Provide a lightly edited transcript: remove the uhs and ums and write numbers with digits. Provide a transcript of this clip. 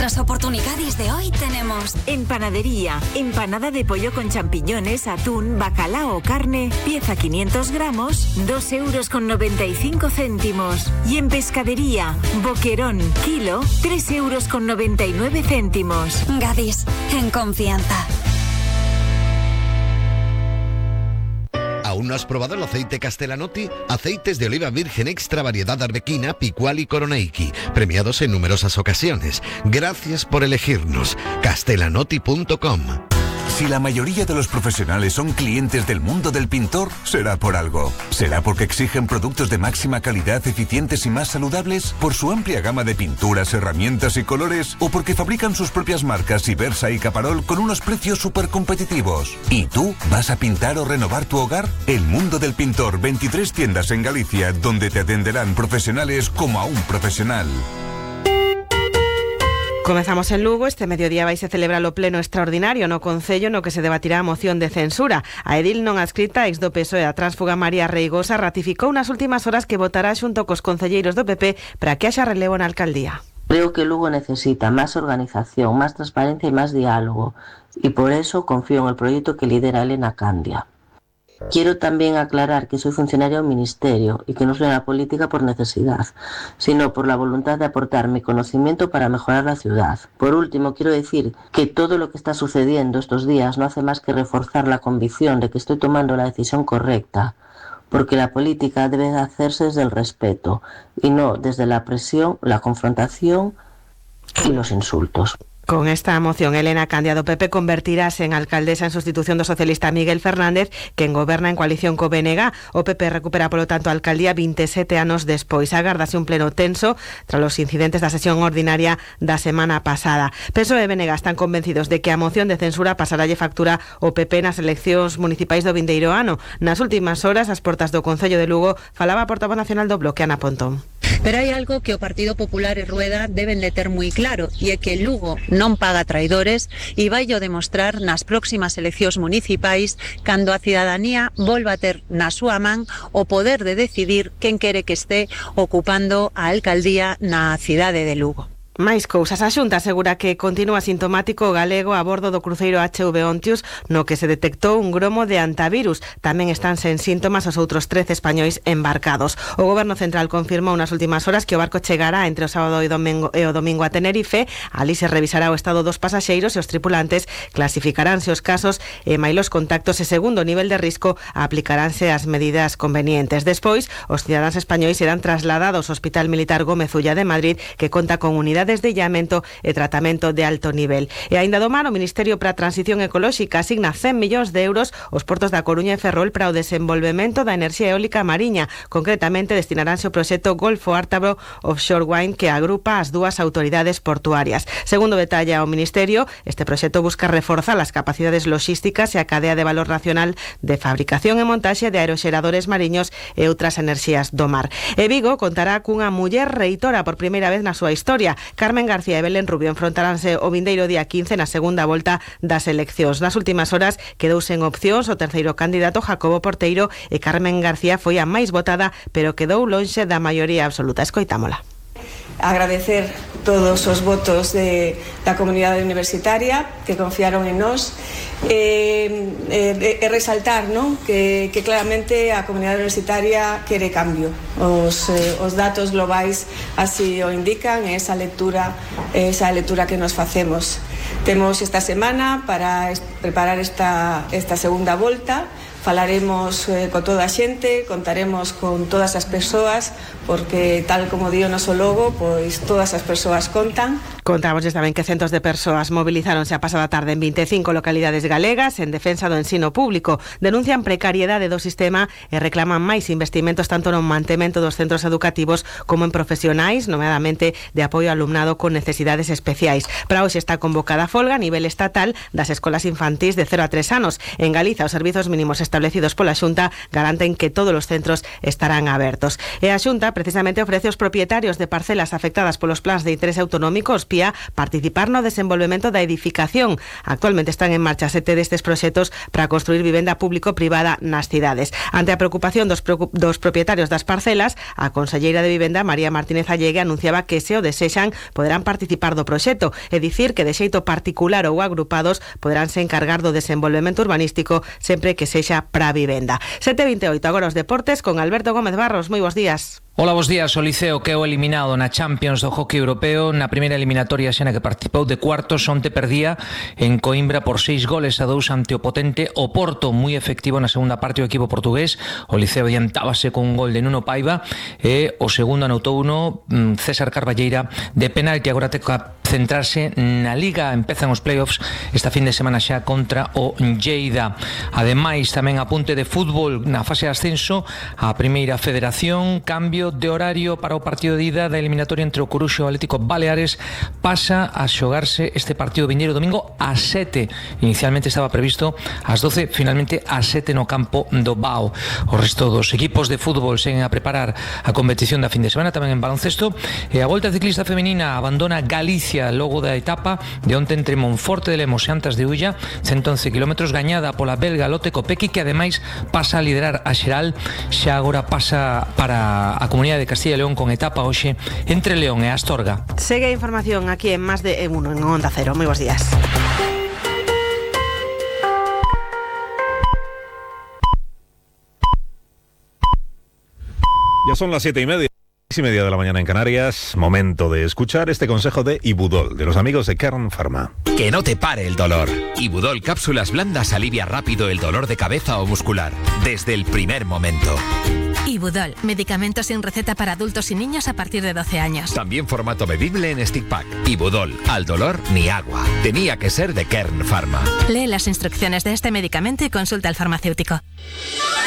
las oportunidades de hoy tenemos... En panadería, empanada de pollo con champiñones, atún, bacalao o carne, pieza 500 gramos, 2,95 €. Y en pescadería, boquerón, kilo, 3,99 €. Gadis, en confianza. ¿Aún no has probado el aceite Castellanotti? Aceites de oliva virgen extra variedad arbequina, picual y coroneiki, premiados en numerosas ocasiones. Gracias por elegirnos. Castellanotti.com. Si la mayoría de los profesionales son clientes del mundo del pintor, será por algo. ¿Será porque exigen productos de máxima calidad, eficientes y más saludables? ¿Por su amplia gama de pinturas, herramientas y colores? ¿O porque fabrican sus propias marcas Ibersa y Caparol con unos precios súper competitivos? ¿Y tú vas a pintar o renovar tu hogar? El mundo del pintor, 23 tiendas en Galicia, donde te atenderán profesionales como a un profesional. Comezamos en Lugo. Este mediodía vai se celebrar o pleno extraordinario no Concello no que se debatirá a moción de censura. A edil non adscrita, ex do PSOE, a tránsfuga María Reigosa, ratificou nas últimas horas que votará xunto cos concelleiros do PP para que haxa relevo na alcaldía. Creo que Lugo necesita más organización, más transparencia y más diálogo, y por eso confío en el proyecto que lidera Elena Candia. Quiero también aclarar que soy funcionaria del Ministerio y que no soy en la política por necesidad, sino por la voluntad de aportar mi conocimiento para mejorar la ciudad. Por último, quiero decir que todo lo que está sucediendo estos días no hace más que reforzar la convicción de que estoy tomando la decisión correcta, porque la política debe hacerse desde el respeto y no desde la presión, la confrontación y los insultos. Con esta moción, Elena Candia do PP convertirase en alcaldesa en sustitución do socialista Miguel Fernández, quen goberna en coalición co BNG. O PP recupera, polo tanto, a alcaldía 27 anos despois. Agárdase un pleno tenso tras os incidentes da sesión ordinaria da semana pasada. PSOE e BNG están convencidos de que a moción de censura pasaralle factura o PP nas eleccións municipais do vindeiro ano. Nas últimas horas, ás portas do Concello de Lugo, falaba a portavoz nacional do Bloque, Ana Pontón. Pero hai algo que o Partido Popular e Rueda deben de ter moi claro, e é que Lugo non paga traidores e vai o demostrar nas próximas eleccións municipais cando a cidadanía volva a ter na súa man o poder de decidir quen quere que este ocupando a alcaldía na cidade de Lugo. Máis cousas. A Xunta asegura que continúa sintomático o galego a bordo do cruceiro HV Ontius, no que se detectou un gromo de antivirus. Tamén están sen síntomas os outros 13 españois embarcados. O Goberno Central confirmou nas últimas horas que o barco chegará entre o sábado e o domingo a Tenerife. Ali se revisará o estado dos pasaxeiros e os tripulantes clasificaránse os casos e mailos contactos e segundo o nivel de risco aplicaránse as medidas convenientes. Despois, os cidadáns españois serán trasladados ao Hospital Militar Gómez Ulla de Madrid, que conta con unidades de illamento e tratamento de alto nivel. E aínda do mar, o Ministerio para a Transición Ecolóxica asigna 100 millóns de euros aos portos da Coruña e Ferrol para o desenvolvemento da enerxía eólica mariña. Concretamente, destinaránse ao proxecto Golfo Ártaro Offshore Wind, que agrupa as dúas autoridades portuarias. Segundo detalla o Ministerio, este proxecto busca reforzar as capacidades logísticas e a cadea de valor nacional de fabricación e montaxe de aeroxeradores mariños e outras enerxías do mar. E Vigo contará cunha muller reitora por primeira vez na súa historia. Carmen García e Belén Rubio enfrontaránse o vindeiro día 15 na segunda volta das eleccións. Nas últimas horas quedouse en opcións o terceiro candidato, Jacobo Porteiro, e Carmen García foi a máis votada, pero quedou lonxe da maioría absoluta. Escoitámola. Agradecer todos os votos da comunidade universitaria que confiaron en nós e resaltar, non? Que claramente a comunidade universitaria quere cambio. Os datos globais así o indican, esa lectura que nos facemos. Temos esta semana para preparar esta segunda volta. Falaremos con toda a xente, contaremos con todas as persoas, porque tal como di o noso logo, pois todas as persoas contan. Contamos tamén que centos de persoas movilizáronse a pasada tarde en 25 localidades galegas en defensa do ensino público. Denuncian precariedade do sistema e reclaman máis investimentos tanto no mantemento dos centros educativos como en profesionais, nomeadamente de apoio ao alumnado con necesidades especiais. Para hoxe está convocada a folga a nivel estatal das escolas infantís de 0 a 3 anos. En Galiza, os servizos mínimos están establecidos pola Xunta garanten que todos os centros estarán abertos. E a Xunta precisamente ofrece aos propietarios de parcelas afectadas polos plans de interese autonómico, os PIA, participar no desenvolvemento da edificación. Actualmente están en marcha 7 destes proxectos para construir vivenda público-privada nas cidades. Ante a preocupación dos propietarios das parcelas, a conselleira de Vivenda, María Martínez Allegue, anunciaba que se o desexan poderán participar do proxecto, é dicir que de xeito particular ou agrupados poderánse encargar do desenvolvemento urbanístico sempre que sexa para vivenda. 7:28, agora os deportes con Alberto Gómez Barros. Moi bons días. Hola, bos días. O Liceo quedou eliminado na Champions do hockey europeo na primeira eliminatoria xa na que participou de cuartos. Onte perdía en Coimbra por 6-2 ante o potente Oporto, moi efectivo na segunda parte o equipo portugués. O Liceo adiantábase con un gol de Nuno Paiva e o segundo anotou uno César Carballeira de penalti. Agora ten que centrarse na Liga, empezan os playoffs esta fin de semana xa contra o Lleida. Ademais, tamén apunte de fútbol na fase de ascenso a Primeira Federación, cambio de horario para o partido de ida da eliminatoria entre o Coruxo e o Atlético Baleares. Pasa a xogarse este partido vindeiro domingo ás 7. Inicialmente estaba previsto ás 12, finalmente ás 7 no campo do Bao. O resto dos equipos de fútbol seguen a preparar a competición da fin de semana, tamén en baloncesto. E a Volta Ciclista Femenina abandona Galicia logo da etapa de onte entre Monforte de Lemos e Antas de Ulla, 111 km, gañada pola belga Lotte Kopecky, que ademais pasa a liderar a xeral. Xa agora pasa para a Comunidade de Castilla y León con etapa hoxe entre León e Astorga. Segue a información aquí en Más de Uno en Onda Cero. Moi bons días. Ya son las 7:30. 6:30 de la mañana en Canarias. Momento de escuchar este consejo de Ibudol, de los amigos de Kern Pharma. Que no te pare el dolor. Ibudol cápsulas blandas alivia rápido el dolor de cabeza o muscular, desde el primer momento. Ibudol, medicamento sin receta para adultos y niños a partir de 12 años. También formato bebible en stick pack. Ibudol, al dolor ni agua. Tenía que ser de Kern Pharma. Lee las instrucciones de este medicamento y consulta al farmacéutico.